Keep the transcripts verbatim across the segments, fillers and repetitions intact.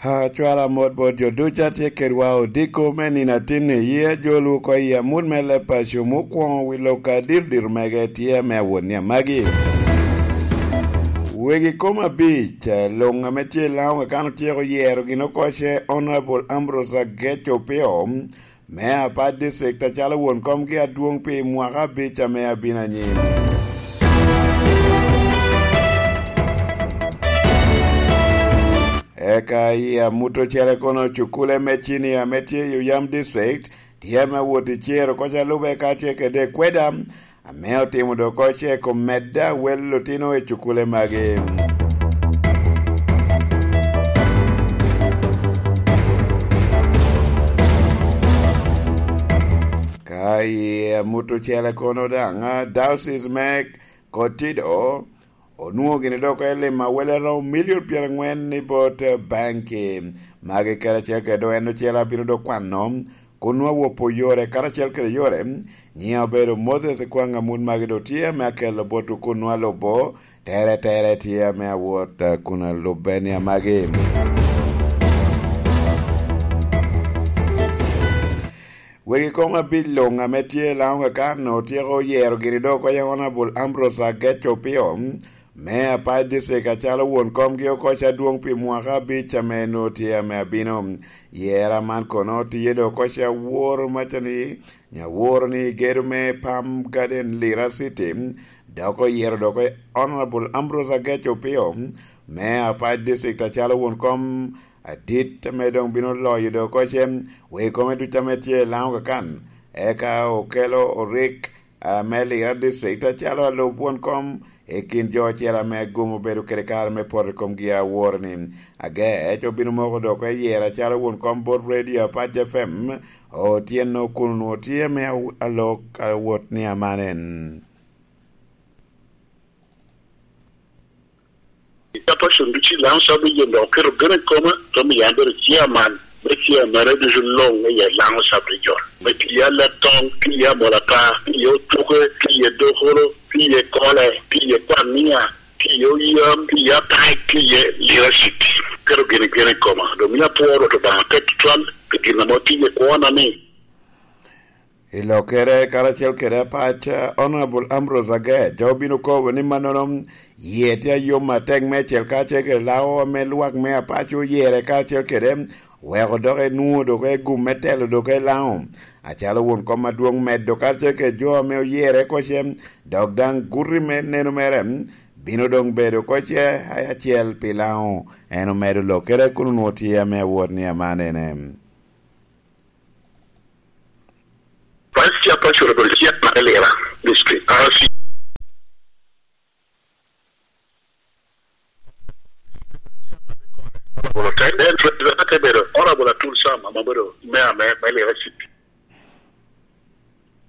Acwala mot bot jo ducu a tye kedwa odiko me nino atinni, yi ajolwu oko i amut me leb paco mukwoŋo wi lok a diro diro mege tye ame awot ni amagi. Wegi kom abic, eh, luŋ ame tye i Laŋo Kakan otyeko yero gin oko ce Honorable Ambrose Agec Opio, me Apac District acalo won komgi adwoŋ pi mwaka abic ame abino anyim. Eka i amut ocele kono, cukule me cinia ame tye i Oyam District tye ame wot i cero koca lube ka tye kede kweda ame otimo dok oko ce kom medde awel otino i cukule magi. Ka i amut ocele kono daŋ, a, Diocese me Kotido onwoŋo gini dok i lim awele romo milion pyeraŋwen i bot, eh, banki. Magi karacel kede dok en ocele abino dok kwano kun nwa wopo yore karacel kede yore. Nyiŋa obedo Moses Kwang Amut, magi dok tye ame akelo botwu kun nwa lubo tere tere tye ame awot, eh, kun alubbe ni amagi. Wegi kom abic luŋ ame tye i Laŋo Kakan otyeko yero gini dok oko Honorable Ambrose Agec Opio me Apac District acalo won komgi oko ca adwoŋ pi mwaka abic ame nwoŋo tye ame abino. Yera man kono tye dok oko ca woro macani, nyaworo ni gedo me Palm Garden Lira City, dok oyero dok Honorable Ambrose Agec Opio me Apac District acalo won kom adit ame doŋ bino loyo dok oko ce wegi kome ducu ame tye i Laŋo Kakan. Eka okelo orik, a, me Lira District acalo alub won kom i kin jo ocel ame gum obedo kede kare me poto i komgi aworo ni Agec obino moko dok oko i yero acalo won kom bot Radio Apac F M otyeno kun onwoŋo tye me aw-, alok awot ni amanen. Ka pacon ducu i Laŋo Sub Region dok oketo gene i koma, te miyo an bedo chairman me chairman ducu luŋ i Laŋo Sub Region. Me tiya Letoŋ, tiya Molata, tiya Otuke, tiya Dokolo, tiya Kole, tiya Kwania, tiya Oyam, tiya Apac, tiya Lira City. Keto gene gene i koma. Dok mio apwoo Rwot Obaŋa atek tutwal pi gin ame otiye kwona ni. I lokkere karacel kede Apac, Honorable Ambrose Agec obino kobo ni mannono yie tye ayom atek meicel karacel kede Laŋo ame lwak me Apac oyere karacel kede weko dok enwoŋo dok egum me telo dok i Laŋo. Acalo won kom adwoŋ medo karacel kede jo ame oyere oko ce, dok daŋ guti me neno mere bino doŋ bedo oko ce acel pi Laŋo. En omedo lokkere kun onwoŋo tye ame awot ni amanene. Vice Chairperson obedo chairman me Lira District, R C. Honorable Otek, then President ate bedo Honorable Atul Sam, ame obedo Mayor me, me Lira City.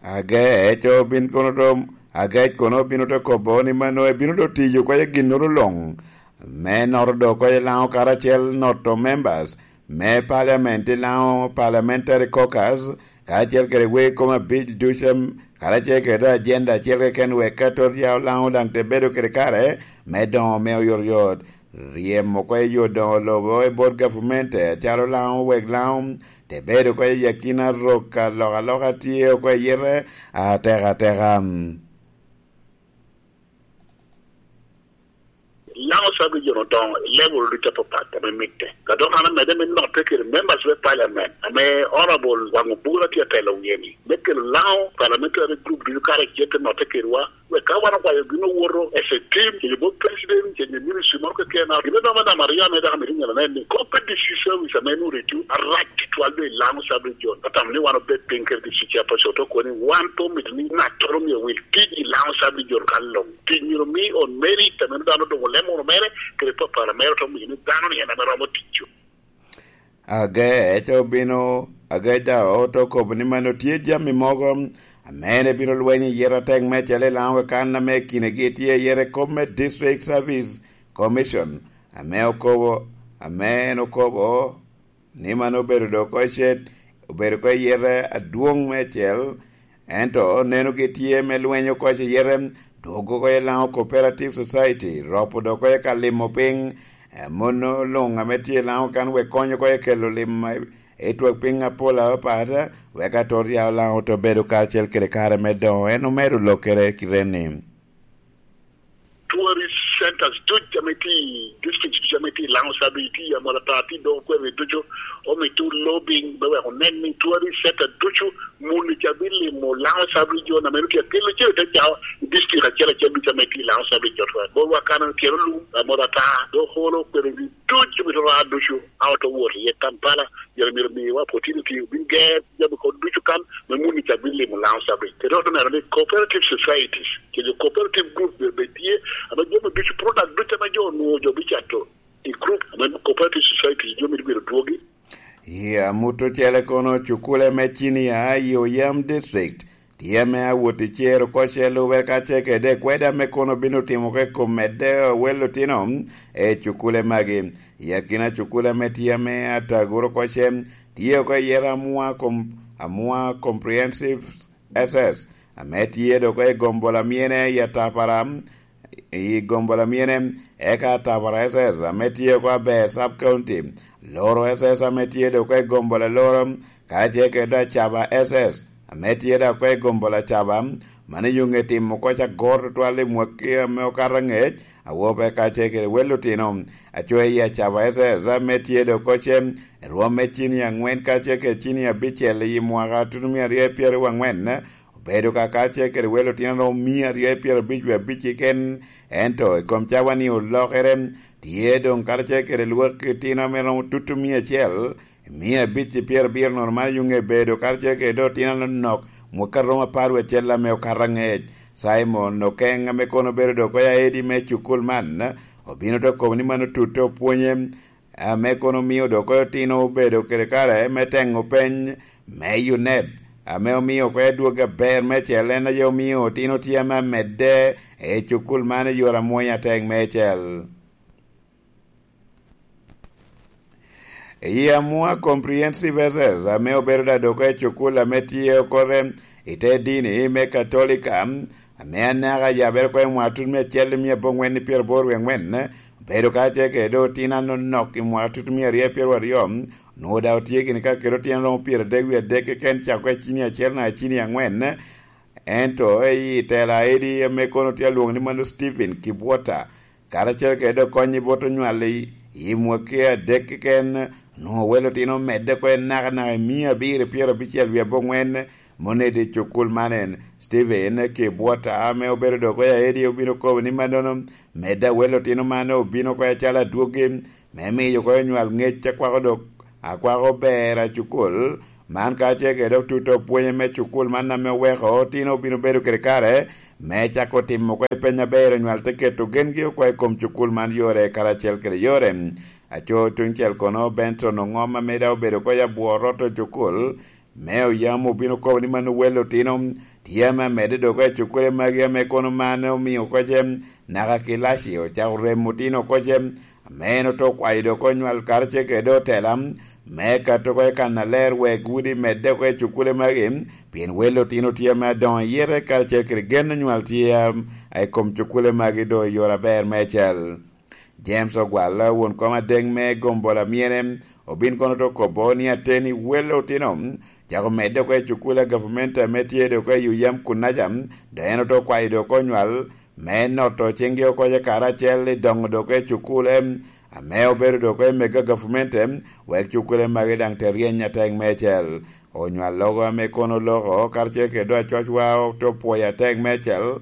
Agec obin kono to, Agec kono obino te kobo ni mano ebino to tiyo oko i ginnoro luŋ. Me noto dok oko i Laŋo karacel noto members me parliament i Laŋo Parliamentary Caucus, karacel kede wegi kom abic ducu, karacel kede agenda acel keken wek ka tot ya Laŋo daŋ te bedo kede kare me doŋo me oyotoyot. Ryemo oko i yo doŋo lobo i bot gavumenti, acalo Laŋo wek Laŋo te bedo oko i akina rok alokaloka tye oko i yite atekateka. Laŋo Sub Region odoŋo i level ducu apapat ame mitte. Ka dok an amedde me notte kede members me parliament ame Honorable Waŋ Obura tye atelo wie-ni, me kelo Laŋo parliamentary group ducu karacel te notte kedwa, wek ka wan okwayo gin owoto as a team, kede bot president, kede ministry moro keken, gin me noma namba aryo ame dok amito nyeno nen ni, kop me D C service ame nwoŋo reduce arac tutwal doŋ i Laŋo Sub Region. Atamo ni wan obed piny kede D C chairperson, to kono ni wan pe omito ni ŋattoro myero owil tic i Laŋo Sub Region kan luŋ. Tic myero omi on merit, ame dano doŋ olemo wunu mere, kede papara mere, to miyo ni dano ni en ame romo tic. Agec obino, Agec daŋ ote okobo ni mano tye jami mogo ame en ebino lwenyo i yero atek meicel i Laŋo Kakan ame kinegi tye i yero kop me District Service Commission, ame okobo, ame en okobo ni mano obedo dok oko cet, obedo oko i yero adwoŋ meicel, ento nenogi tye me lwenyo oko i yero, dwogo oko i Laŋo Cooperative Society, ropo dok oko i ka limo piny, Amono luŋ ame tye i Laŋo kan wek kony oko i kelo lim i twak piny apol apapat, wek atot ya Laŋo to bedo kacel kede kare me doŋo, en omedo lokere kite ni. Tourist centers duc ame tye i district duc ame tye i Laŋo Sabri, tye i Amolata, tye i Dogokwer, ducu omito lobbying me wek onen ni tourist center ducu muni ca bilimo Laŋo Sabri, jo na meno tye akelo cen te cao i district acel acel ducu ame tye i Laŋo Sabri, jo twa. Borwa kan tye lum, Amolata, Dogokwer, ducu omito raa ducu, a oto wot iye Kampala, yere myero miwa opportunity, obin ger jami kod ducu kan, me muni ca bilimo Laŋo Sabri. Kede oto neno ni cooperative societies, kede cooperative group bene bed tye, ame jami ducu, product ducu ame jo onwoŋo jo bicato i group, ame cooperative societies, jo mito bedo dwogi. I amut ocele kono, cukule me cinia i Oyam District tye ame awot i cer oko ce lube ka ce kede kweda me kono bino timo ke kom medde wel otino e cukule magi. I akina cukule ame tye ame ataguro oko ce, tye oko i yero Amua Com-, Amua Comprehensive S S, ame tye dok i gombo lamyene i Atapara, i gombo lamyene, eka Atapara S S, ame tye oko aber Sub County, Loro S S, ame tye dok i gombo laloro, ka ce kede Acaba S S, ame tye dok i gombo Lacaba, mano yuŋe timo oko ca gor tutwal i mwaki ame okato angec, awobe ka ce kede wel otino, aco i Acaba S S, ame tye dok oko ce, rwom me cini angwen ka ce kede cini abicel i mwaka tutumia aryo pyeraryo angwen, obedo ka kacel kede wel otino romo mia aryo i pyerabic wie abic keken, ento i kom cawa-ni olokere, tye doŋ karacel kede lwak otino ame romo tutumia acel, mia abic i pyerabiro nono man yuŋe bedo karacel kede otino anonok, mwaka romo apar wie acel ame okato angec. Simon Okeng ame kono obedo dok oya edi me cukul man, obino te okobo ni mano tutte opwonye, ame kono omio dok otino obedo kede kare me teŋo peny me UNEB, ame omio oko adwogi aber meicel, en aye omio otino tye ame amedde i cukul man i yore amwonya atek meicel. I Amua Comprehensive S S, ame obedo da dok i cukul ame tye okore i te dini me Katolika, ame anaka yabere oko i mwaka tut me acel i mia abongwen i pyeraboro wie angwen, obedo ka tye kede otino anonok i mwaka tut mia aryo pyeraryo aryo, onwoŋo daŋ otye gini ka kede otino romo pyeradek wie adek keken cako i cini acel naka cini angwen, ento i tela edi ame kono tye alwoŋo ni mano Stephen Kibwota, karacel kede dok kony i bot onywal i, i mwaki adek keken, onwoŋo wel otino omedde oko i nakanaka i mia abiro pyerabicel wie abongwen, Monede i cukul man en, Steven Kibwota, ame obedo dok oya edi, obino kobo ni mannono, medde awel otino man obino oko acalo adwogi, me miyo oko onywal ngec akwako dok, akwako ber a cukul man, ka ce kede otuto pwonye me cukul man ame oweko otino obino bedo kede kare me cako timo oko peny aber, onywal te keto gengi oko i kom cukul man yore karacel kede yore. Aco tuŋ cel kono, Benson Oŋom, ame daŋ obedo oko i abwor ot cukul, me oyam obino kobo ni mano wel otino tye ame amedde dok i cukule magi, ame kono man omio oko ce naka kilaci ocako remo otino oko ce, ame en oto kwayo dok onywal karacel kede otela me kato oko i kannaler wek udi medde oko i cukule magi, pien wel otino tye ame adoŋo iyete karacel kede gen onywal tye a, a i kom cukule magi doŋ i yore aber meicel. James Ogwal, won kom adeŋ me gombo lamyene, obin kono te okobo ni ateni wel otino cako medde oko i cukul a gavumenti ame tye dok i Uyam Kunaca, dok en ote okwayo dok onywal me noto ciŋgi oko ce karacel i doŋo dok i cukule ame obedo dok i mego a gavumenti, wek cukule magi daŋ te ryeny atek meicel. Onywal logo ame kono oloko karacel kede dok acocwa ote opwoyo atek meicel.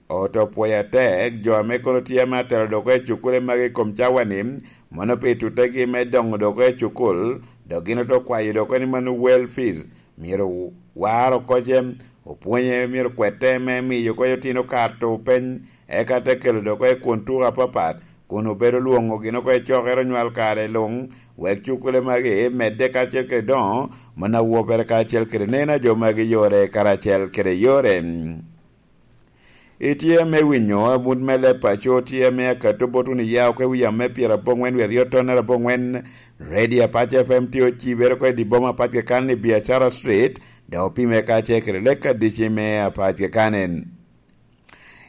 Oto pwoyo atek jo ame kono tye ame atelo dok i cukule magi i kom cawa-ni, mono pi tutegi me doŋo dok i cukul, dok gin oto kwayo dok ni mano wel fees myero war oko ce, opwonye myero kwete me miyo oko otino kato peny, eka te kelo dok i kun tuko apapat, kun obedo lwoŋo gin oko i cokere onywal kare luŋ, wek cukule magi medde karacel kede doŋo, mono awobere karacel kede neno a jo magi yore karacel kede yore. Itye me winyo amut me leb paco, tye me akato bot wunu ya oko i wi yam me pyerabongwen wi aryo tonnere abongwen. Radio Apac F M tye ocibere oko i di boma apac keken i Biacara Street, dok opime kacel kede lek adici me apac keken.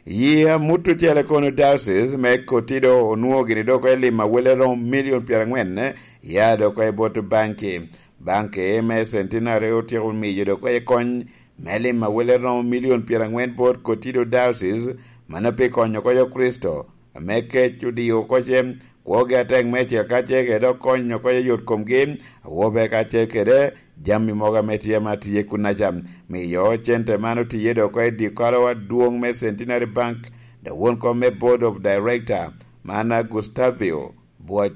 Yi amut ocele kono diocese me Kotido onwoŋo gini dok i lim awele romo milion pyeraŋwen, ya dok i bot banki. Banki me Centenary otyeko miyo dok i kony me lim awele romo milion pyeraŋwen bot Kotido diocese, mano pi konyo oko Kricito, ame kec odio oko ce, kwogi atek meicel kacel kede dok konyo oko yot komgi, awobe kacel kede jami mogo ame tye ma tye kunnaca. Miyo cente man otiye dok oko i dikolowa adwoŋ me Centenary Bank, dok won kom me Board of Director, man a Gustavio Bwoc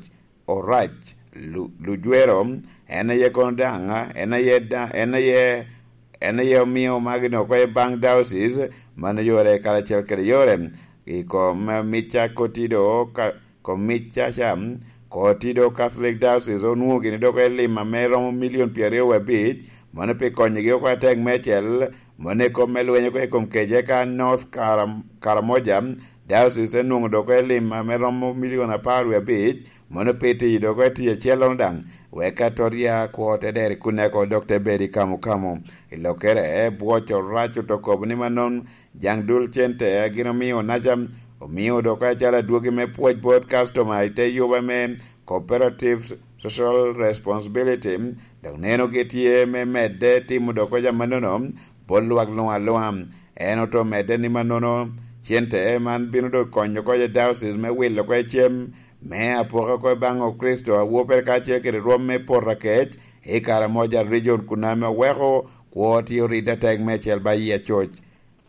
Orac Lu-, Lujwero, en aye kono daŋ, en aye da-, en aye, en aye omio magi dok oko i Bank Diocese, man oyore karacel kede yore. I kom mica Kotido ka, kom mica ca, Kotido Catholic Diocese onwoŋo gini dok i lim ame romo milion pyeraryo wie abic, mano pi konyogi oko atek meicel, mano i kom me lweny oko i kom kece ka North Karam-, Karamoja Diocese enwoŋo dok i lim ame romo milion apar wie abic, mano pi tiyo dok i tic acellono daŋ, wek atoria kwo te dero i kunne oko dok te bedo i kamo kamo. I lokkere, Bwoc Orac oto kobo ni mannono, jaŋ dul cente a gin omio naca, omio dok acalo adwogi me pwoc bot customer i te yuba me cooperative social responsibility, dok neno gi tye me medde timo dok jami mannono bot lwak luŋ aluŋa. En oto medde ni mannono cente man bino dok konyo oko i diocese me wilo oko i cem me apoka oko i baŋ Okricito a wopere kacel kede rwom me poto akec i Karamoja region kun ame oweko kwo tye oridde atek meicel ba yie coc.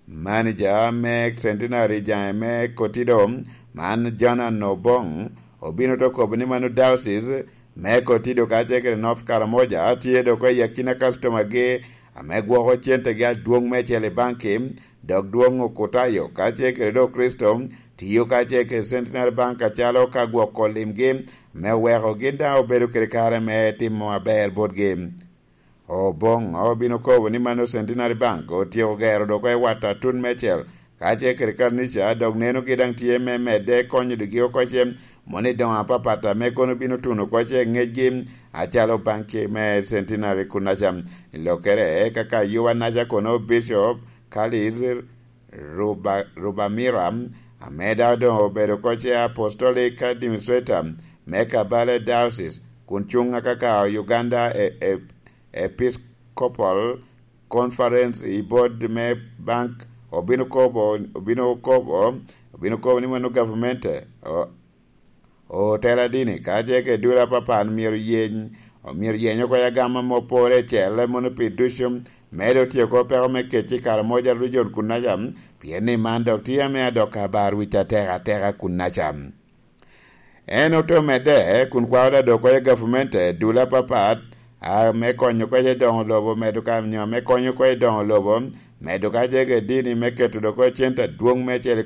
Manager me Centenary Jaŋe me Kotido, man Jonan Obong, obino te kobo ni mano diocese me Kotido kacel kede North Karamoja tye dok i akina customer gi ame gwoko centegi adwoŋ meicel i banki, dok dwoŋ Okutayo kacel kede dok Kricito tiyo kacel kede Centenary Bank acalo ka gwoko limgi me weko gin daŋ obedo kede kare me timo aber botgi. Oboŋo obino kobo ni mano Centenary Bank otyeko gero dok i wata atut meicel, kacel kede kanica, dok nenogi daŋ tye me medde konyo digi oko ce, moni doŋo apapat ame kono bino tuno oko ce ŋecgi, acalo banki me Centenary kunaca. I lokkere, kaka yuwa naca kono Bishop Kalis Ruba-, Rubamira, ame daŋ doŋ obedo oko ce Apostolic Administrator me Kabale Diocese, kun cuŋ akaka Uganda e, e, Episcopal Conference i board me bank, obino kobo, obino kobo, obino kobo ni mano gavumenti, o-, otela dini, ka tye ka i dul apapat myero yeny, myero yeny oko i agama ma opore cel, mono pi ducu, medo tyeko peko me kec i Karamoja region kunaca, pien ni man dok tye ame adok abar wic atek ateka kunaca. En ote medde kun kwao da dok oko i gavumenti dul apapat, a, me konyo oko i doŋo lobo, medo ka nyo me konyo oko i doŋo lobo, medo ka jege dini me keto dok oko cente adwoŋ me cel i